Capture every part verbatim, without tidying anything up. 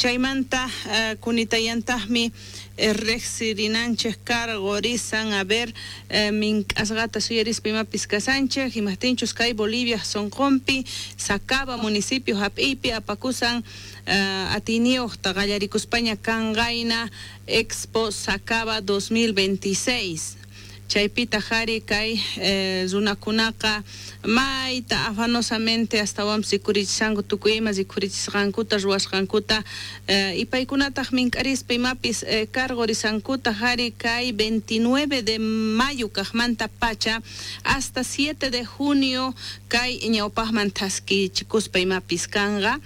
Chaymanta uh, kunitayantaqmi eh, riqsirinanchik karqurisan, a ver, eh, mink'asqata suyarispa imapis kasanchik, imaptinchus kay Bolivia sunqunpi Sacaba municipio hap'iypi apakusan uh, atiyniyuqta qallarikuspaña kanqayna Expo Sacaba dos mil veintiséis. Chaypitaq ari kay eh, runakunaqa mayta afanosamente astawanpis rikurichishanku tukuy ima rikurichisqankuta, ruwasqankuta, eh, y paykunataq mink'arispa imapis eh, karqurisankutaq ari kay veintinueve de mayo kaqmanta pacha hasta siete de junio kay ñawpaqman thaskichikuspa imapis kanqa,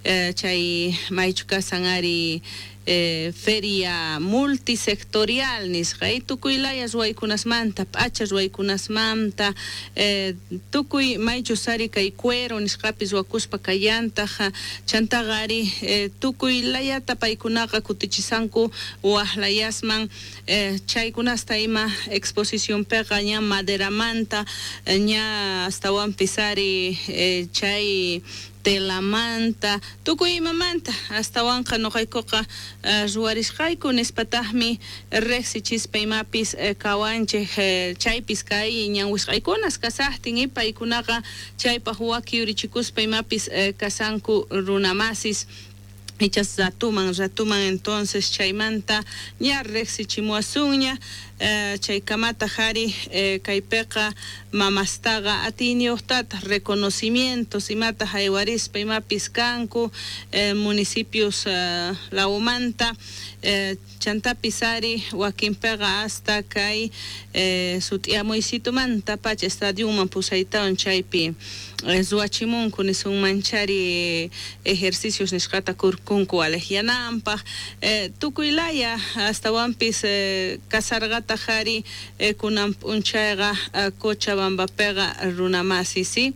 eh, chay maychu kasan ari eh, feria multisectorial nisqa y tukuy laya ruwaykunasmanta, p'acha ruwaykunasmanta, eh, tukuy maychus ari kay cuero nisqapis ruwakuspa kallantaq. Chantaqa ari eh, tukuy layata paykunaqa kutichisanku waq layasman, eh, chaykunasta ima exposicionpiqa ña maderamanta, ña astawanpis ari eh, chay telamanta, tukuy imamanta astawanqa nuqaykuqa uh, ruwarisqayku nispataqmi riqsichispa imapis uh, kawanchik, uh, chaypis kay ñanwisqaykunas kasaqtin y paykunaqa chaypaq waki yurichikuspa imapis uh, kasanku runamasis ichas ratuman ratuman. Entonces chaymanta ña riqsichimuwasunña, eh, chaykamataq ari eh, kaypiqa mamastaqa atiyniyuqtataq reconocimientos imata haywarispa imapis kanku eh, municipios eh, lawmanta, eh, chantapis ari wakinpiqa hasta kay eh, sut'iamuysitumanta pacha estadionman pusaytawan chaypi eh, ruwachimunku nisunmanchari ejercicios nisqata kurkunku aleqyananpaq, eh, tukuy laya astawanpis eh, kasarqataq ari eh, kunan p'unchayqa eh, Cochabambapiqa runamasi, sí,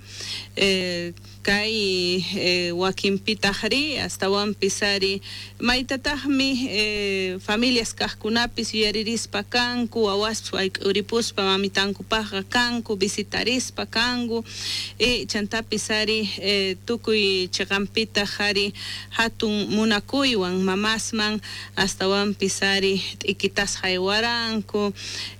eh, kay eh, wakinpitaqri astawanpis ari maytataqmi eh, familias kaqkunapis yuyaririspa kanku, wawaspis wayk'uripuspa mamitankupaqqa kanku, visitarispa kanku, y chantapis ari eh, tukuy chiqanpitaq ari hatun munakuywan mamasman astawanpis ari t'ikitas haywaranku,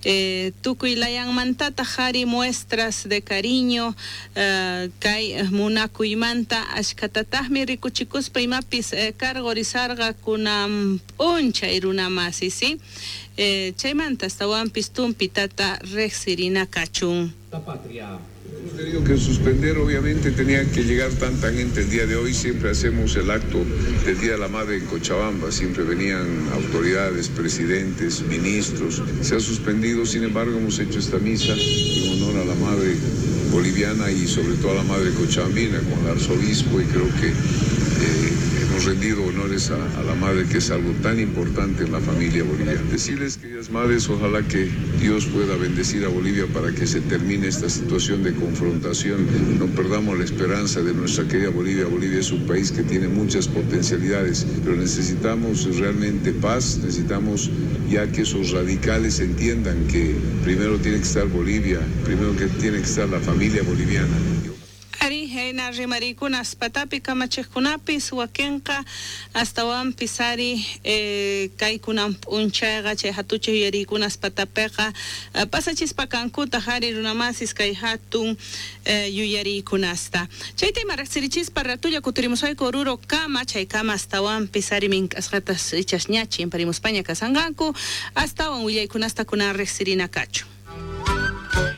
eh, tukuy layanmantataq ari muestras de cariño, eh, kay munakuymanta ashkatataqmi rikuchikuspa imapis eh, karqurisarqa kunan p'unchay runamasi, sí, eh, chaymanta astawanpis tumpitata riqsirina kachun. La patria. Hemos tenido que suspender, obviamente tenía que llegar tanta gente el día de hoy, siempre hacemos el acto del Día de la Madre en Cochabamba, siempre venían autoridades, presidentes, ministros, se ha suspendido, sin embargo hemos hecho esta misa en honor a la Madre boliviana y sobre todo a la Madre cochabambina con el arzobispo y creo que eh, hemos rendido honores a, a la Madre, que es algo tan importante en la familia boliviana. Decirles, queridas madres, ojalá que Dios pueda bendecir a Bolivia para que se termine esta situación de confrontación. No perdamos la esperanza de nuestra querida Bolivia. Bolivia es un país que tiene muchas potencialidades, pero necesitamos realmente paz, necesitamos ya que esos radicales entiendan que primero tiene que estar Bolivia, primero que tiene que estar la familia boliviana. Ari hina rimarikunas patapi kamachiqkunapis wakinqa astawanpis ari eh, kaykunan p'unchayqa chay hatuchaq yuyariykunas patapiqa eh, pasachispa kankutaq ari runamasis kay hatun eh, yuyariykunasta. Chayta ima riqsirichispa ratulla kutirimusayku Oruro kama, chaykama astawanpis ari mink'asqatas ichas ña chimparimuspaña kasanqanku astawan willaykunasta kunan riqsirina kachun.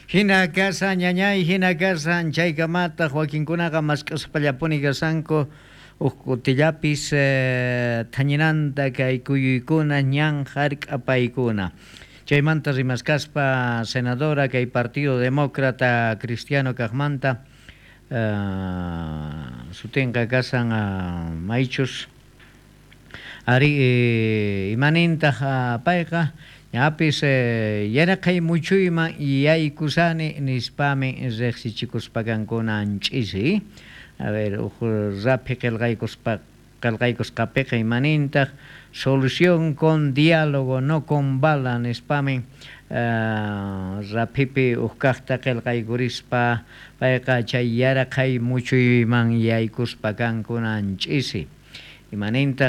Hina kasan ñañay, hina kasan chaykamataq wakinkunaqa mask'aspallapuni kasanku huk kutillapis eh, thañinanta kay kuyuykuna ñan hark'apaykuna. Chaymanta rimaskaspa senadora kay Partido Demócrata Cristiano kaqmanta, eh, sutinqa kasan uh, maychus ari eh, imanintaq uh, payqa ñapis eh, yaraqay muchuyman yaykusani nispami riqsichikuspa ch'isi. A ver, uj raphi qillqaykuspa qillqaykusqapiqa imanintaq "solución con diálogo, no con bala" nispami uh, raphipi uj kaqta qillqaykurispa payqa chay yaraqay muchuyman yaykuspa kankuna ch'isi imanintaq.